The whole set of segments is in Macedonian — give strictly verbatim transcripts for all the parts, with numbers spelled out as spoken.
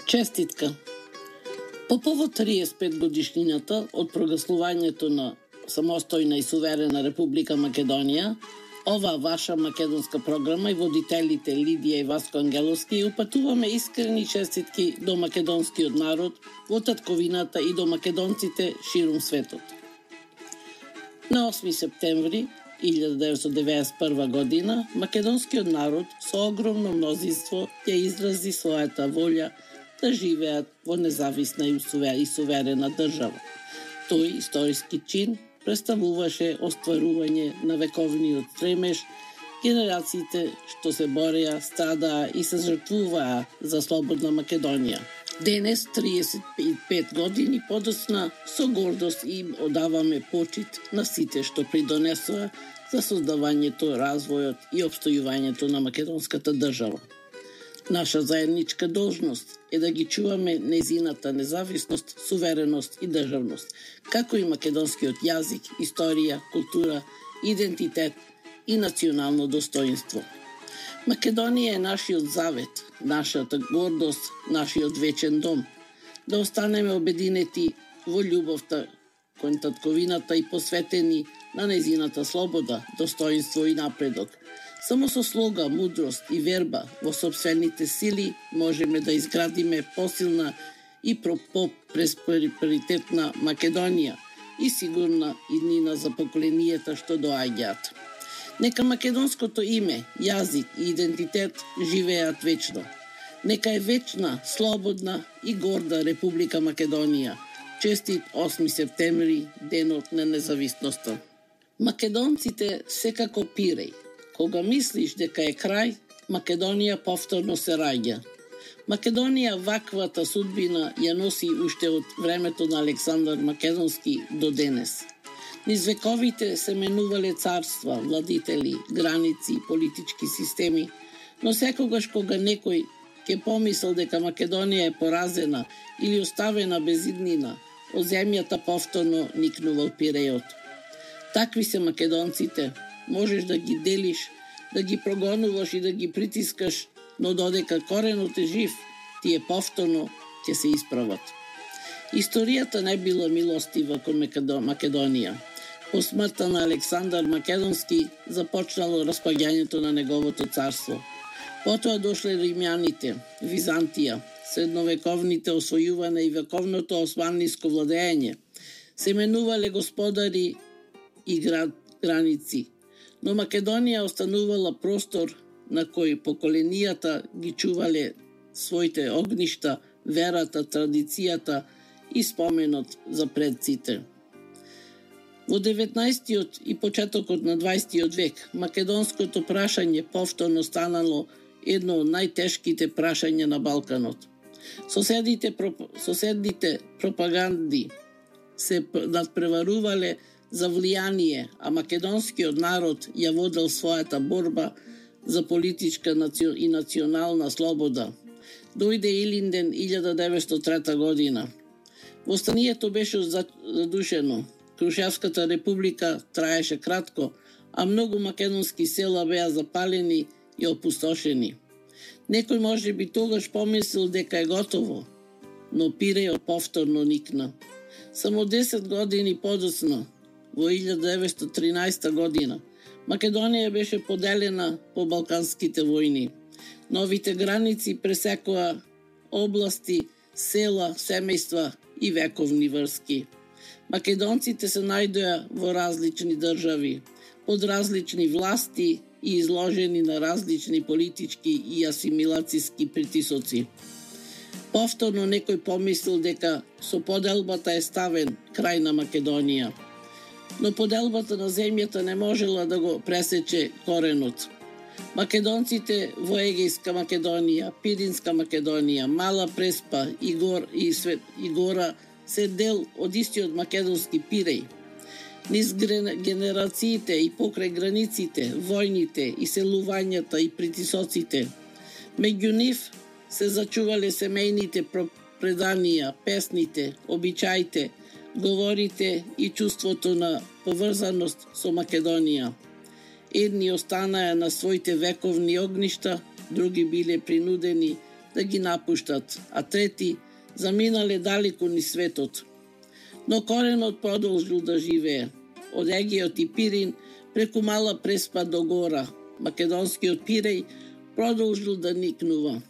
Честитка! По повод триесет и пет годишнината од прогласувањето на самостојна и суверена Република Македонија, оваа ваша македонска програма и водителите Лидија и Васко Ангеловски упатуваме искрени честитки до македонскиот народ во татковината и до македонците ширум светот. На осми септември илјада деветстотини деветдесет и прва година македонскиот народ со огромно мнозинство ја изрази својата волја да живеат во независна и суверена држава. Тој историски чин представуваше остварување на вековниот стремеж генерациите што се бореа, страдаа и се жртвуваа за слободна Македонија. Денес, триесет и пет години подоцна, со гордост им одаваме почит на сите што придонесоа за создавањето, развојот и опстојувањето на македонската држава. Наша заедничка должност е да ги чуваме незината независност, сувереност и државност, како и македонскиот јазик, историја, култура, идентитет и национално достоинство. Македонија е нашиот завет, нашата гордост, нашиот вечен дом. Да останеме обединети во љубовта кон татковината и посветени на незината слобода, достоинство и напредок. Само со слога, мудрост и верба во сопствените сили можеме да изградиме посилна и по-просперитетна Македонија и сигурна иднина за поколенијата што доаѓаат. Нека македонското име, јазик и идентитет живеат вечно. Нека е вечна, слободна и горда Република Македонија. Честит осми септември, денот на независноста. Македонците секако пиреј. Кога мислиш дека е крај, Македонија повторно се раѓа. Македонија ваквата судбина ја носи уште од времето на Александар Македонски до денес. Низ вековите се менувале царства, владители, граници, политички системи, но секогаш кога некој ќе помисел дека Македонија е поразена или оставена без иднина, од земјата повторно никнува пирејот. Такви се македонците. Можеш да ги делиш, да ги прогонуваш и да ги притискаш, но додека коренот е жив, тие повторно ќе се исправат. Историјата не била милостива кон Македонија. По смртта на Александар Македонски започнало распаѓањето на неговото царство. Потоа дошле римјаните, Византија, средновековните освојување и вековното османлиско владење. Се менувале господари и град, граници, но Македонија останувала простор на кој поколенијата ги чувале своите огништа, верата, традицијата и споменот за предците. Во деветнаесеттиот и почетокот на дваесеттиот век македонското прашање повторно станало едно од најтешките прашања на Балканот. Соседите, проп... соседните пропаганди се надпреварувале за влијание, а македонскиот народ ја водел својата борба за политичка и национална слобода. Дојде Илинден илјада деветстотини и трета година. Востанието беше задушено. Крушевската република траеше кратко, а многу македонски села беа запалени и опустошени. Некој може би тогаш помислил дека е готово, но пирејот повторно никна. Само десет години подоцна, во илјада деветстотини и тринаесета година, Македонија беше поделена по балканските војни. Новите граници пресекоа области, села, семејства и вековни врски. Македонците се најдоа во различни држави, под различни власти и изложени на различни политички и асимилацијски притисоци. Повторно некој помислил дека со поделбата е ставен крај на Македонија. Но поделбата на земјата не можела да го пресече коренот. Македонците во Егејска Македонија, Пиринска Македонија, Мала Преспа и, гор, и, свет, и Гора се дел од истиот македонски пиреј. Низ генерациите и покрај границите, војните и селувањата и притисоците. Меѓу нив се зачувале семејните преданија, песните, обичаите, говорите и чувството на поврзаност со Македонија. Едни останаа на своите вековни огништа, други биле принудени да ги напуштат, а трети заминале далеку низ светот. Но коренот продолжил да живее. Од Егеот и Пирин преку Мала Преспа до Гора, македонскиот Пиреј продолжил да никнува.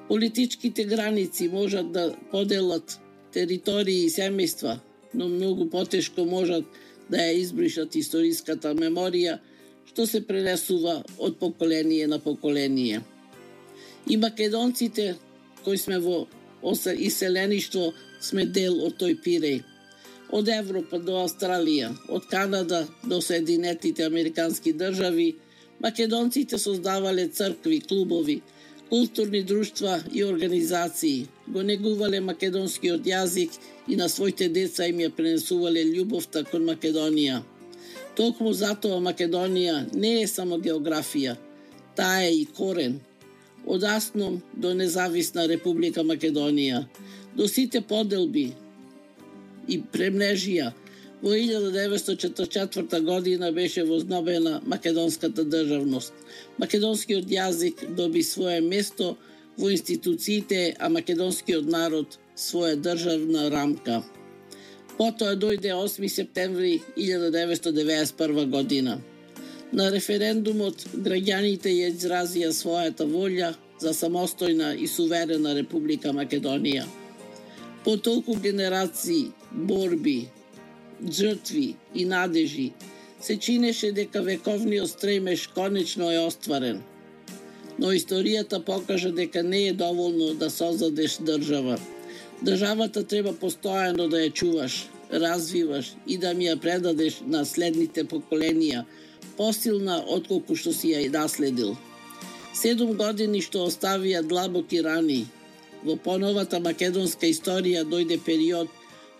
Политичките граници можат да поделат територии и семејства, но многу потешко можат да ја избришат историската меморија, што се пренесува од поколение на поколение. И македонците, кои сме во иселеништво, сме дел од тој Пиреј. Од Европа до Австралија, од Канада до Соединетите Американски држави, македонците создавале цркви, клубови, културни друштва и организации, го негувале македонскиот јазик и на своите деца им ја пренесувале љубовта кон Македонија. Токму затоа Македонија не е само географија, таа е и корен. Од Асном до независна Република Македонија, до сите поделби и премнежија, во илјада деветстотини четирдесет и четврта година беше вознобена македонската државност. Македонскиот јазик доби свое место во институциите, а македонскиот народ своја државна рамка. Потоа дојде осми септември илјада деветстотини деведесет и прва година. На референдумот граѓаните ја изразија својата волја за самостојна и суверена Република Македонија. По толку генерации, борби, жртви и надежи, се чинеше дека вековниот стремеж конечно е остварен. Но историјата покажа дека не е доволно да создадеш држава. Државата треба постојано да ја чуваш, развиваш и да ми ја предадеш на следните поколенија, посилна отколку што си ја и наследил. Седум години што оставија длабоки рани. Во поновата македонска историја дојде период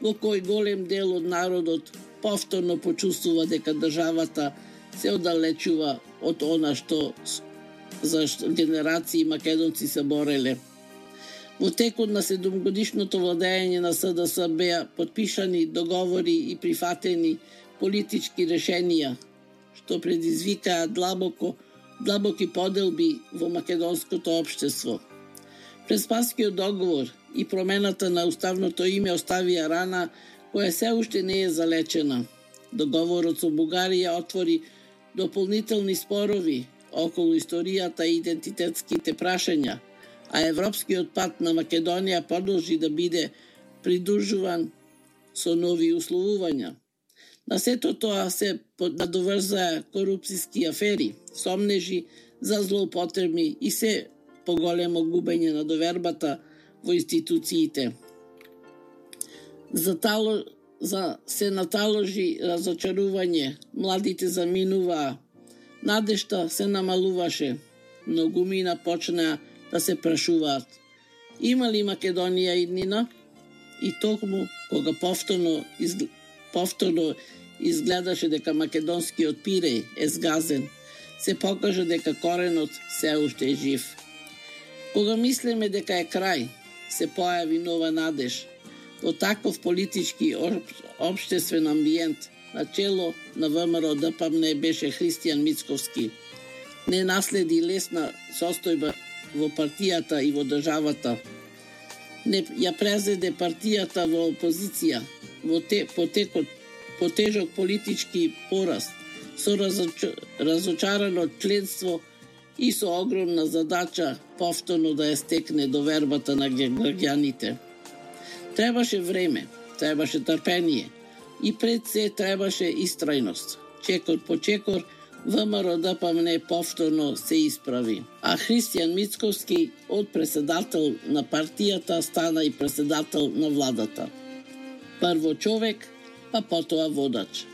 во кој голем дел од народот повторно почувствува дека државата се оддалечува од она што за генерации македонци се бореле. Во текот на седумгодишното владење на СДС беа подпишани договори и прифатени политички решенија, што предизвикаа длабоко, длабоки поделби во македонското општество. Преспанскиот договор и промената на уставното име оставија рана која се уште не е залечена. Договорот со Бугарија отвори дополнителни спорови околу историјата и идентитетските прашања, а европскиот пат на Македонија продолжи да биде придружуван со нови условувања. На сето тоа се надоврзаа корупцијски афери, сомнежи за злоупотреби и се поголемо губење на довербата во институциите. За, тало, за се наталожи разочарување, младите заминуваа, надежта се намалуваше, многумина почнаа да се прашуваат. Има ли Македонија иднина? И токму кога повторно, изг... повторно изгледаше дека македонскиот Пиреј е сгазен, се покажа дека коренот се уште е жив. Кога мислиме дека е крај, се појави нова надеж. Во таков политички општествен амбиент, на чело на ВМРО Д П М Н беше Христијан Мицковски. Не наследи лесна состојба во партијата и во државата. Не ја презеде партијата во опозиција, во те, потекот, потежок политички пораст, со разоч, разочарано членство и со огромна задача повторно да ја стекне довербата на граѓаните. Требаше време, требаше трпение и пред се требаше истрајност. Чекор по чекор ВМРО Д П М Н повторно се исправи, а Христијан Мицковски од председател на партијата стана и председател на владата. Прво човек, па потоа водач.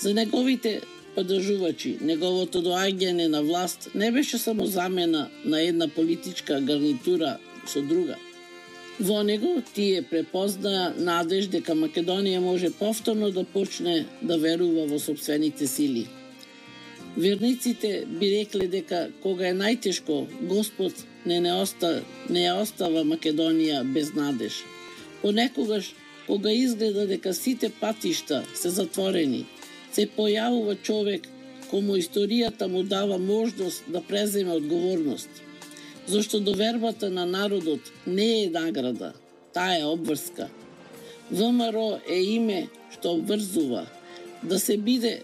За неговите поддржувачи, неговото доаѓање на власт не беше само замена на една политичка гарнитура со друга. Во него тие препознаа надеж дека Македонија може повторно да почне да верува во сопствените сили. Верниците би рекле дека кога е најтешко, Господ не не, оста, не ја остава Македонија без надеж. Понекогаш, кога изгледа дека сите патишта се затворени, се појавува човек кому историјата му дава можност да преземе одговорност. зашто довербата на народот не е награда, таа е обврска. ВМРО е име што обврзува. Да се биде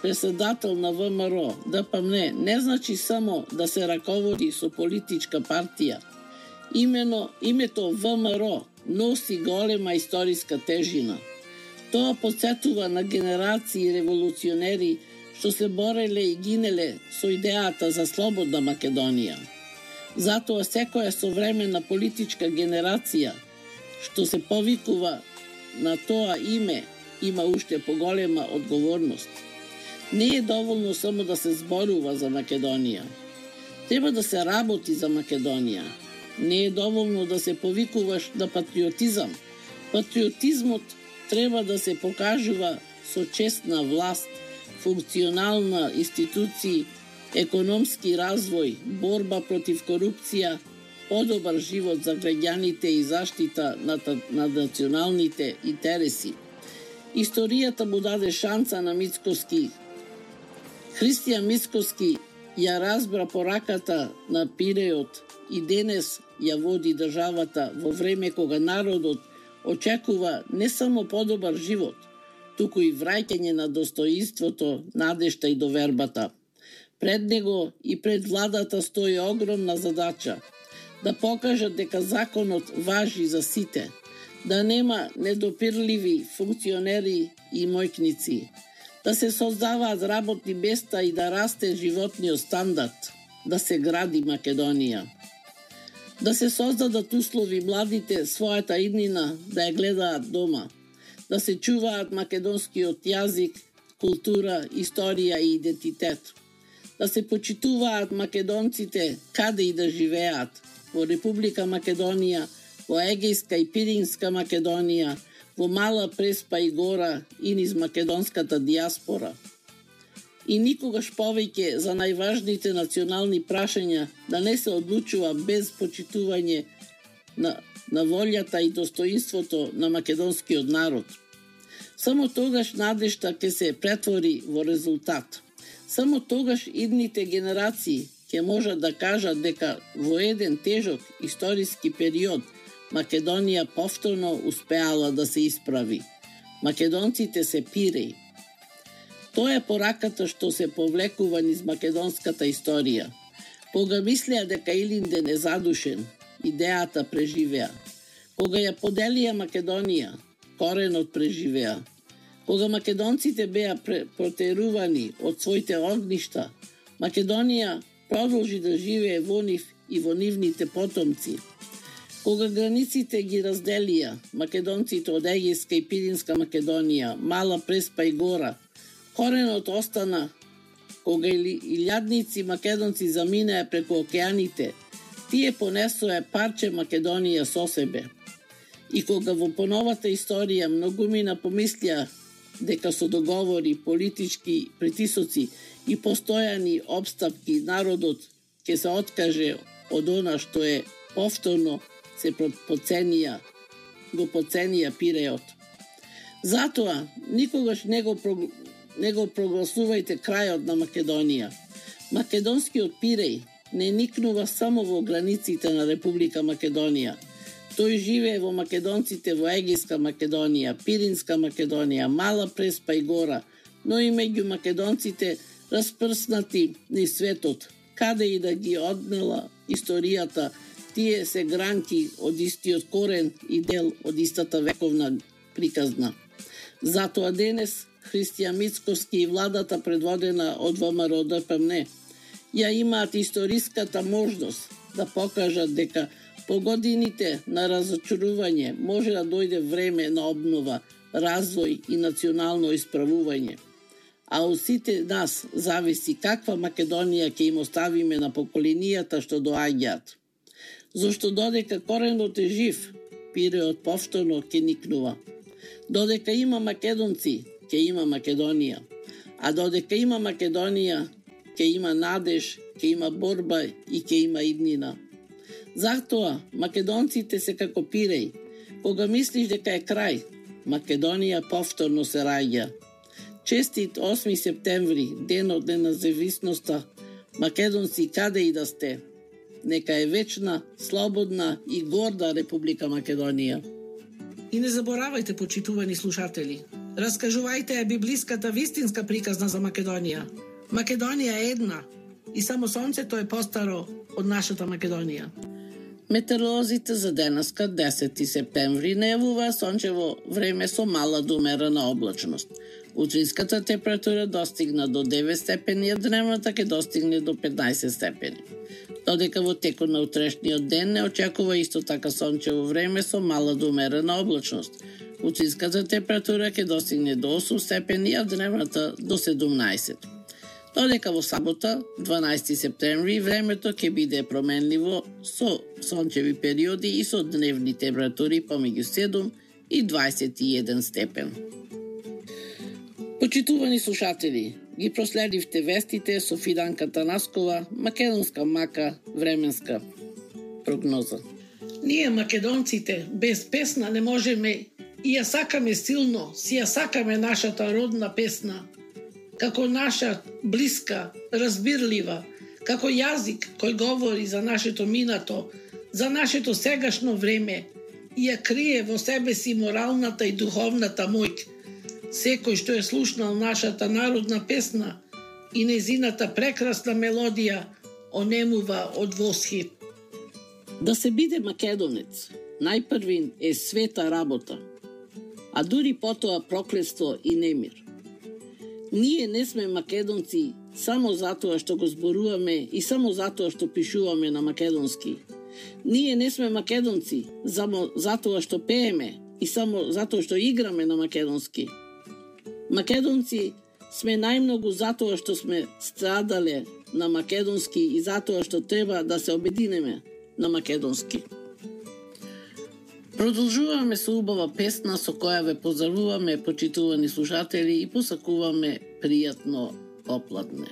председател на ВМРО, ДПМН, не значи само да се раководи со политичка партија. Имено името ВМРО носи голема историска тежина. Тоа потсетува на генерации револуционери што се бореле и гинеле со идејата за слободна Македонија. Затоа секоја современа политичка генерација што се повикува на тоа име има уште поголема одговорност. Не е доволно само да се зборува за Македонија. Треба да се работи за Македонија. Не е доволно да се повикуваш на патриотизам. Патриотизмот треба да се покажува со честна власт, функционална институции, економски развој, борба против корупција, подобар живот за граѓаните и заштита на, на националните интереси. Историјата му даде шанса на Мицкоски. Христијан Мицкоски ја разбра пораката на Пиреот и денес ја води државата во време кога народот очекува не само подобар живот, туку и враќање на достоинството, надежта и довербата. Пред него и пред владата стои огромна задача да покажат дека законот важи за сите, да нема недопирливи функционери и мојкници, да се создаваат работни места и да расте животниот стандард, да се гради Македонија. Да се создадат услови младите својата иднина да ја гледаат дома, да се чуваат македонскиот јазик, култура, историја и идентитет, да се почитуваат македонците каде и да живеат, во Република Македонија, во Егејска и Пиринска Македонија, во Мала Преспа и Гора и низ македонската диаспора. И никогаш повеќе за најважните национални прашања да не се одлучува без почитување на, на волјата и достоинството на македонскиот народ. Само тогаш надежта ќе се претвори во резултат. Само тогаш идните генерации ќе можат да кажат дека во еден тежок историски период Македонија повторно успеала да се исправи. Македонците се пиреи. Тоа е пораката што се повлекува низ македонската историја. Кога мислеа дека Илинден е задушен, идејата преживеа. Кога ја поделија Македонија, коренот преживеа. Кога македонците беа протерувани од своите огништа, Македонија продолжи да живее во нив и во нивните потомци. Кога границите ги разделија македонците од Егејска и Пиринска Македонија, Мала Преспа и Гора, коренот остана. Кога илјадници македонци заминаа преку океаните, тие понесоа парче Македонија со себе. И кога во поновата историја многумина помислија дека со договори, политички притисоци и постојани обстапки народот ќе се откаже од она што е повторно се подценија, го подценија Пиреот. Затоа никогаш не го, не го прогласувајте крајот на Македонија. Македонскиот Пиреј не никнува само во границите на Република Македонија. Тој живее во македонците во Егејска Македонија, Пиринска Македонија, Мала Преспа и Гора, но и меѓу македонците распрснати низ светот, каде и да ги однела историјата, тие се гранки од истиот корен и дел од истата вековна приказна. Затоа денес Христијан Мицкоски и владата предводена од ВМРО ДПМН ја имаат историската можност да покажат дека по годините на разочарување може да дојде време на обнова, развој и национално исправување. А од сите нас зависи каква Македонија ќе им оставиме на поколенијата што доаѓаат. Зошто додека коренот е жив, Пиреот повторно ќе никнува. Додека има македонци, ќе има Македонија. А додека има Македонија, ќе има надеж, ќе има борба и ќе има иднина. Затоа македонците се како Пиреј. Кога мислиш дека е крај, Македонија повторно се раѓа. Честит осми септември, денот на независноста, македонци каде и да сте. нека е вечна, слободна и горда Република Македонија. И не заборавајте, почитувани слушатели, раскажувајте ја библиската вистинска приказна за Македонија. Македонија е една и само сонцето е постаро од нашата Македонија. Метеоролозите за денеска, десети септември, најавува сончево време со мала до умерена облачност. Утринската температура достигна до девет степени, а дневната ќе достигне до петнаесет степени. Додека во текот на утрешниот ден не очекува исто така сончево време со мала до умерена облачност. Утринската температура ќе достигне до осум степени, а дневната до седумнаесет. Додека во сабота, дванаесети септември, времето ќе биде променливо со сончеви периоди и со дневни температури помеѓу седум и дваесет и еден степен. Почитувани слушатели, ги проследивте вестите со Фиданка Танаскова, македонска мака, временска прогноза. Ние македонците без песна не можеме и ја сакаме силно, си ја сакаме нашата родна песна, како наша блиска, разбирлива, како јазик кој говори за нашето минато, за нашето сегашно време и ја крие во себе си моралната и духовната моќ. Секој што е слушнал нашата народна песна и незината прекрасна мелодија онемува од восхит. Да се биде македонец, најпрвин е света работа, а дури потоа проклетство и немир. Ние не сме македонци само затоа што го зборуваме и само затоа што пишуваме на македонски. Ние не сме македонци само затоа што пееме и само затоа што играме на македонски. Македонци сме најмногу затоа што сме страдале на македонски и затоа што треба да се обединеме на македонски. Продолжуваме со убава песна со која ве поздравуваме, почитувани слушатели, и посакуваме пријатно попладне.